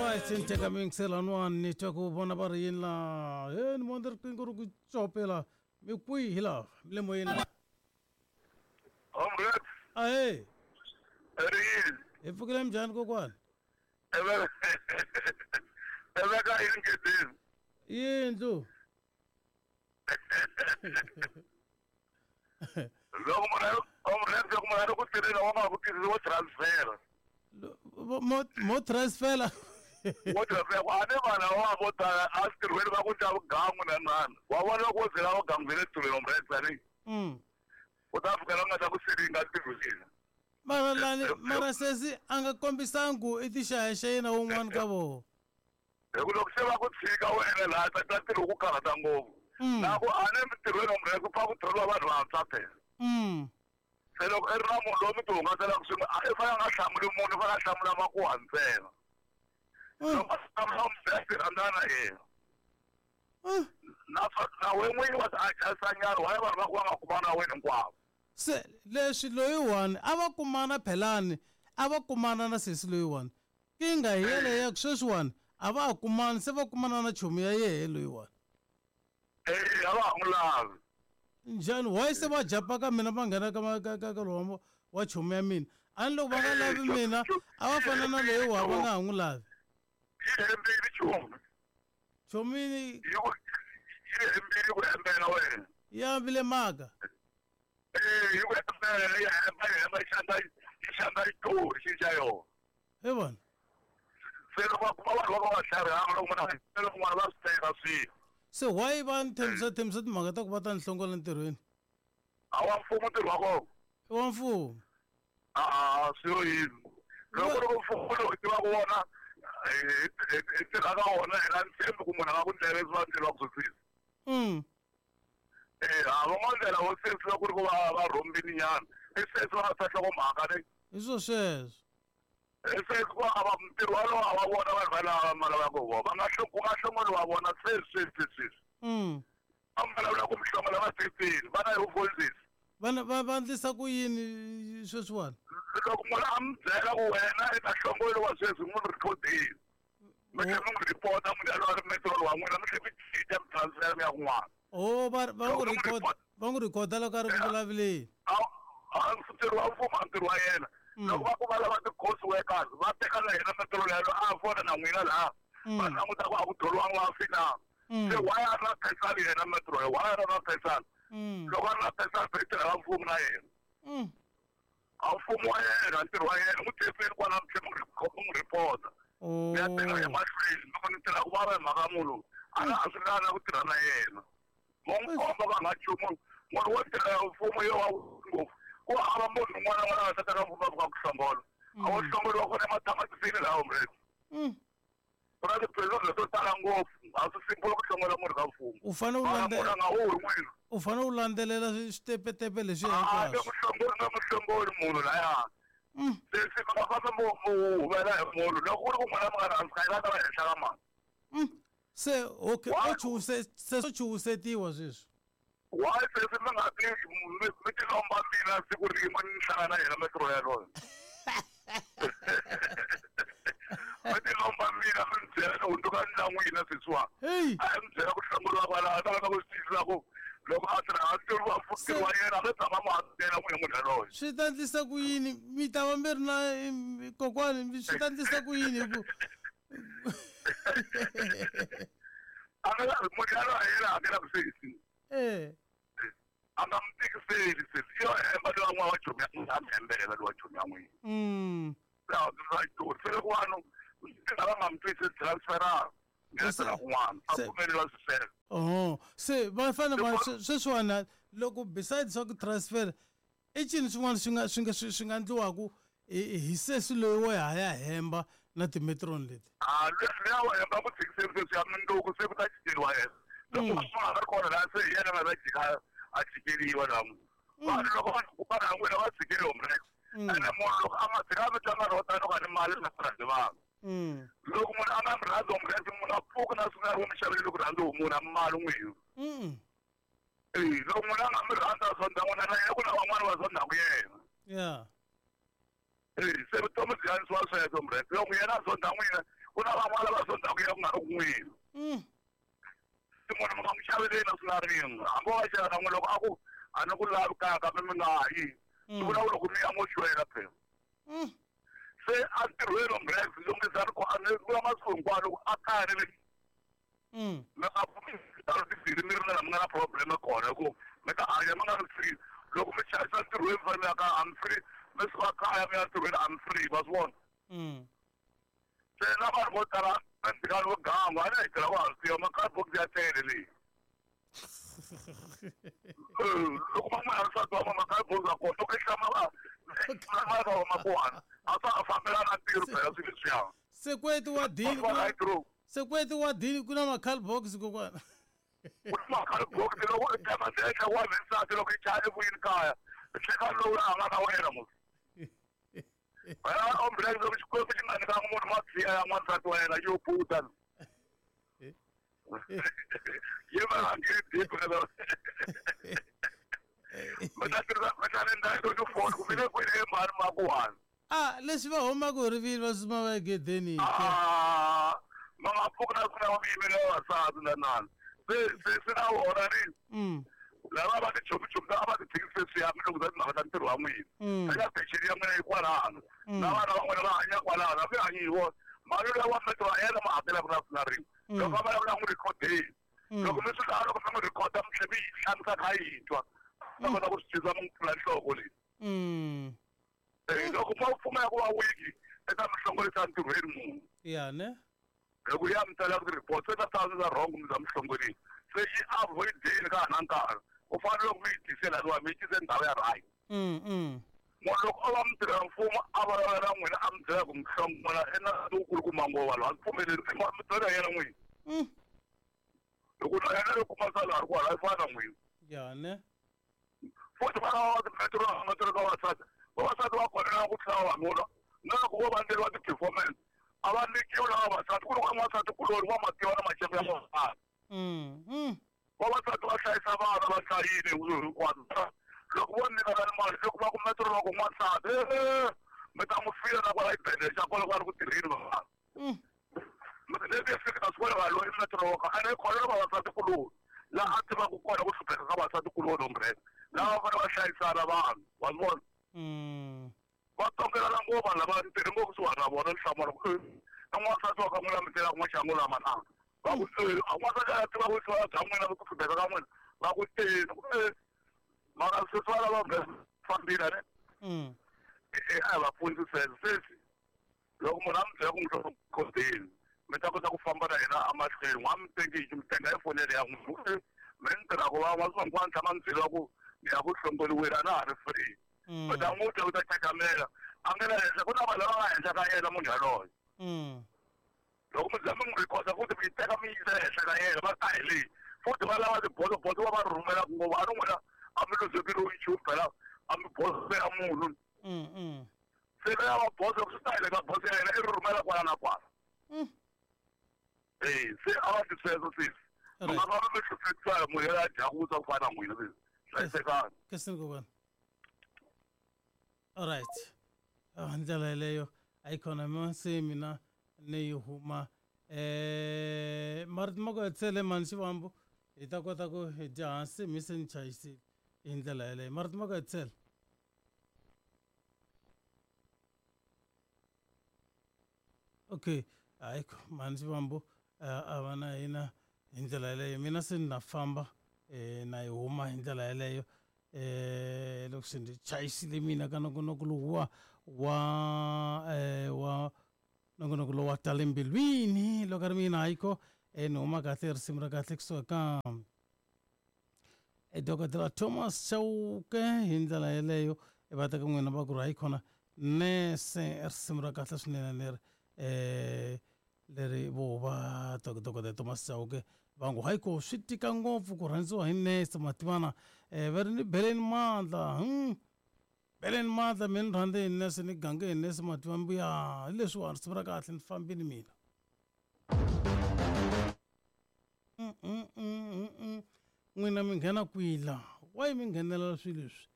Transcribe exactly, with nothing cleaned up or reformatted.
Alright, ni teka miyingiselani ni twa ku vona va ri yini laha he ni vona riqingho ri ku copela mi kwihi laha mi le moyeni la Omret, ahee ri yini? Hi pfukile minjhani kokwani? Eve Eveka yini ngedini? Yindlu. Loko munhu Omret, loko munhu a ri ku tirheni wa nga ku tirhisi wo transfer. Mo mo transfer. Wo transfer ku a ni vanhu lava vo tala a swi tirhweni va ku dya vugangu na nani. Wa vona loko wo zela vugangu bya le tirhweni Omret tani. Mm. U ta fika la nga ta ku siringa ntirhweni. Mara lani mara sesi a nga kombisangi ku i tixayaxaya yena wun'wana ka vona. Hi ku loko se va ku tshika wena laha ta ta ntirho ku karhata ngopfu. Mm. Na ku a ni mintirhweni Omret ku pfa ku thoriwa vanhu vantshwa phela. Mm. Se loko i ri na munhu loyi mi ti hungaselaka swin'we a i fanele a nga hlamuli munhu i fanele a hlamula makuwa ntsena. Mm. Loko a hlamula u mi byela ti rhandzana na yena. Mm. Na na we n'winyi wa ti adjust-a nyana why vanhu va ku va nga kumana na wena hinkwavo. Se leswi loyiwani a va kumana phelani a va kumana na sesi loyiwani kinga hi yeleyo ku sweswiwani a va ha kumani se va kumana na chomi ya yehe loyiwani. Eh a va ha n'wi lavi. Njhani why se va jumpa ka mina va nghena ka ka ka ka lowa wa chomi ya mina a ni loko va nga lavi mina a va fana na loyiwa va nga ha n'wi lavi. Yi hembile chomi. Chomi Yi ku yi hembile ku hembela wena. Ya ambile mhaka. Eh yi ku hembela yi hemba yi hemba yi xandla yi xandla xitori xi xa yona. He vona. Se loko va kuma vanhu va ka va tlharihanga loko munhu a hembela kun'wana va swi teka swilo. Se why va ni thembisa thembisa timhaka ta ku va ta ni hlongola ntirhweni? A wa mfumo ntirho wa kona. I wa mfumo. A swi yini. Loko loko mfumo lowu hi tivaka wona hi tirha ka wona hi nga ntshembi ku munhu a nga ku ndlela leswi va ndleriwaka swo sesi. Mm. Eh a va ngo ndlela wo sesi loko ku ri ku va va rhombini nyana. I sesi va nga ta nhlokomhaka ne. Hi swo sweswo. I sesi ku a va ntirho walowo a va vona vanhu va lava va lavaka vona. Va nga ku nga hlongoriwa vona sweswi sweswi sweswi. Mm. A mi vulavula ku mi hlongola va sesini va na hi vufondzisi. Vana va va endlisa ku yini sweswiwani? Loko munhu a mi byela ku wena i ta hlongoriwa sweswi n'wi rhikhodini. Mi tlhela mi n'wi ripota munhu yaloye a ri metro wa n'wina mi tlhela mi cinca mi transfer mi ya kun'wana. Oh va va n'wi record va n'wi rhikhoda loko a ri ku vulavuleni. A a ntirho wa mfumo a ntirho wa yena. Loko va ku va lava ti-course workers va teka na yena metro yaloye a fona na n'wina laha. Va languta ku a ku thoriwanga va fina. Se why a ri na pesali yena metro why a ri na pesali? Loko a ri na pesali i tirhela mfumo na yena. A mfumo wa yena ntirho wa yena n'wi tepeni kwala mi tlhela mi n'wi ripota. Mi ya teka emahlweni loko ni tirha ku vava hi mhaka munhu loyi a nga ha swi lavi na ku tirha na yena. Mo n'wi komba va nga nchumu munhu wo tirhela mfumo yo wa ngopfu ku hava munhu un'wana na un'wana a nga ta teka mfumo a fika ku hlongola. A wo hlongoriwa kona ematamatisi laha Omret. Ku na ti-prison leto tala ngopfu a swi simple ku hlongola munhu ka mfumo. U fanele u Mara landze- munhu a nga huhi n'wina. U fanele u landzelela switepetepe leswi A nge hinkwaswo. ku hlongoli nga mu hlongoli munhu laya. Sesi mi nga fambi mu mu huvela hi munhu loko ku ri ku n'wina mi nga rhandzi ka yena a ta va henhla ka mani. Se okay Why? o chuhuse se swo chuhusetiwa sweswi. Why sesi mi nga ti mi mi ti lomba mina siku rin'we ni hlangana na yena metro yaloye. Mi ti lomba mina mi ni byela ni hundzuka ni la n'wina sesiwa. Hey. A mi byela ku hlongoriwa kwalaho a ta lava ku swi twisisa ku loko a tirha a ntirho wa ntirho wa yena a nge tshama mu hakela n'wina munhu yaloye. Swi ta endlisa ku yini mi ta va mi ri na kokwani swi ta endlisa ku yini hi ku A nga munhu yaloye a yena hakelaka sesi. Eh. A nga mi tikiseli sesi yo hemba lowa n'wana wa chomi ya n'wina a mi hembela lowa chomi ya n'wina. Mm. Laha swi se loko vanhu va nga mi twisisi transferanga mi ya tirha kun'wana a Se- pfumeleriwa swi sweswo. Oh, se va fanele va sweswiwani loko besides swa ku transfer i cini swin'wana swi nga swi nga swi nga endliwaku hi hi sesi loyi wo ha ya hemba na timetron leti. A luya wa hemba ku tshikiseni sweswi ya mundzuku se ku ta jikeriwa yena. Loko munhu a nga ri kona laha se hi yena a nga ta jika a jikeriwa laha. Vanhu loko va ku va n'wina va tshikeriwa mureke. Ene munhu loko a nga tshika mi tlanga ro tano ka ni mali na rhandzi vanhu. Mm. Loko munhu a nga mi rhandzi mureke munhu a pfuka na swi nga ri mi xavele ku rhandzi munhu a mali n'wina. Mm. Eh loko munhu a nga mi rhandza zonda n'wina na yena ku na van'wana va zondaku yena. Yeah. Eh se vutomi byi hanisiwa sweswo mureke. Loko yena a zonda n'wina Ku na van'wana va sondzaka ya ku nga ri kun'wini. Se munhu mi nga n'wi xaveleni na swi na rin'we. Hambi wa xava na n'we loko a ku a ni ku lavi kaya kambe mi nga yi. Swi vula ku loko mi ya mo xwela phela. Se a ntirhweni Ombrexx lunghisa ri a ni vula masiku hinkwawo loko a kaya ni le mi nga pfumeli timbirhi mi ri na la mi nga na problem kona hi ku mi ta hanya mi nga ri free. Loko mi chayisa ntirhweni mi fanele mi ya kaya I'm free. Mi suka kaya mi ya ntirhweni I'm free va swi vona. Se na vanhu vo tala ndzikani vo ganga a ni hi tirha ku hansiwa ma-cardbox ya tele leyi. Loko va n'wi nsati wa ma-cardbox ya kona loko i hlama va va ma kona a swa ha fambelana ntirho phela swilo leswiya. Sekweti wa dini ku sekweti wa dini ku na ma-cardbox kokwana. Ku na ma-cardbox loko i tshama ndzi wa nsati loko i chaya evuyini kaya hleka lowu a nga na wena musi. Wena Ombrexx loko Xikwembu xi nga nyikanga munhu madziya ya n'wansati wa yena yo puta. Yi va hangeni deep phela. Mi ta tirhisa mi ta ni ndhawu yo phone ku mi le kwini emhani makuwani. Ah, leswi va humaka hi rivilo va suma va egedeni. Ah, va nga pfuki na ku na va yimela vavasati na nani. Se se se na vona ni. Lava va tichomichomi a va ti tshikisi sweswiya mi lunghiza timhaka ta ntirho wa n'wina. Eka peceni ya n'wina yi kwalano. Na vana va n'wina va hanya kwalano, a mi hanyi hi vona. Mali leyi wa metro ya yena ma hakelaka na na rin'we. Loko a vulavula n'wi rhikhodeni. Loko mi swi lava loko mi n'wi rhikhoda mi tlhela mi yi hlamisa kha yi twa. Ta kota ku swi twisisa mi n'wi pfula nhloko leyi. Loko mo pfumela ku va wiki eka mi hlongorisa ntirhweni munhu. Ya ne? Loko ya mi tsala ti-report se ta ta wrong mi za mi hlongorisa. Se yi avoid-eni ka ha na nkarhi. U fanele loko mi yi tisela lowa mi yi tise ndhawu ya right. Munhu loko o va mutirhela mfumo a vulavula na n'wina a mi byela ku mi hlongola i na wukulukumba ngopfu vanhu a ndzi pfumeleli mi byela yena n'wini. Loko na yena loko kuma sala a ri kwala yi fana na n'wina. Ya ne? Futhi vana va timetro va ka vavasati. Vavasati va kona ku tlula vavanuna. Na loko vo va endleriwa ti-performance a va nyikiwi lava vavasati ku ri ku n'wansati kuloni wa mativa na maxaka ya vavasati. Vavasati va hlayisa vana va hlayile hinkwaswo. Loko vo nyikana mali loko va ku metro loko n'wansati mi ta n'wi fila na kwala xibedhlele xa kona ku va ri ku tirheni vavasati. Leswi hi fika swi vona vanhu loyi metro wa ka ene khona vavasati kuloni laha a tivaka kona ku hlupheka ka vavasati kuloni Ombrexx. Lava va fanele va hlayisana vanhu wa swi vona. Va tongelana ngopfu vanhu lava ntirhi ngopfu kusuhani na vona ni hlamala ku na n'wansati wa ka n'wina mi tirhaka maxangu lama na. Va ku a n'wansati a tiva ku bya n'wina ku hlupheka ka n'wina va ku e mara sweswi va lava fambile ne. A va pfuni sweswo sweswi loko munhu a mi byela ku n'wi khodeni mi ta kota ku famba na yena emahlweni n'wa mi teki mi tenga hi fonele ya n'wina mi ni tirhaka va masiku hinkwawo ni tshama ni byeriwa ku ni ya ku hlongoriweni a na ha ri free. U ta n'wi twa u ta chakamela a nge le henhla ku na vanhu lava nga henhla ka yena munhu yaloye. Loko mi za mi n'wi rhikhoda futhi mi yi teka mi yisa ehenhla ka yena va ta hi leyi futhi va lava tibodobodo va va rhumelaka ngopfu a ni n'wina a mi luzekeriwi nchumu phela a mi bosela munhu. Se ya va boso swi ta hi le ka boso ya yena i ri rhumela kwala na kwala. Eh se a va ti sweswo sweswi. Mi nga va mi hluphekisa munhu yena a dya ku ku fana na n'wina sweswi. Hlayisekani. Kesini kokwana. All right. Ah, ndlela yeleyo a yi khona mi se mina ni yi huma eh marito ma ku hetisele mani Xivambu hi ta kota ku hi dya hansi mi se ni chayisile hi ndlela yeleyo marito ma ku hetisele. Okay, hayi mani Xivambu a va na hina hi ndlela yeleyo mina se ni na famba eh na yi huma hi ndlela yeleyo eh loko se ndzi chayisile mina ka nongonoko lowu wa wa eh wa nongonoko lowu wa tale mbilwini loko a ri mina hayikho eh ni huma kahle risimu ra kahle kusuka ka e dokodela Thomas Chauke hi ndlela yeleyo va teka n'wina va ku ri hayikhona nese risimu ra kahle swinene leri eh leri vo va dokodela Thomas Chauke va ngo hayiko swi tika ngopfu ku rhandziwa hi nese mativana eh va ri ni beleni mandla hmm beleni mandla mina ni rhandze hi nese ni gange hi nese mativa mbuya hi leswiwani risimu ra kahle ni fambile mina. N'wina mi nghena kwila why mi nghenelela swilo leswi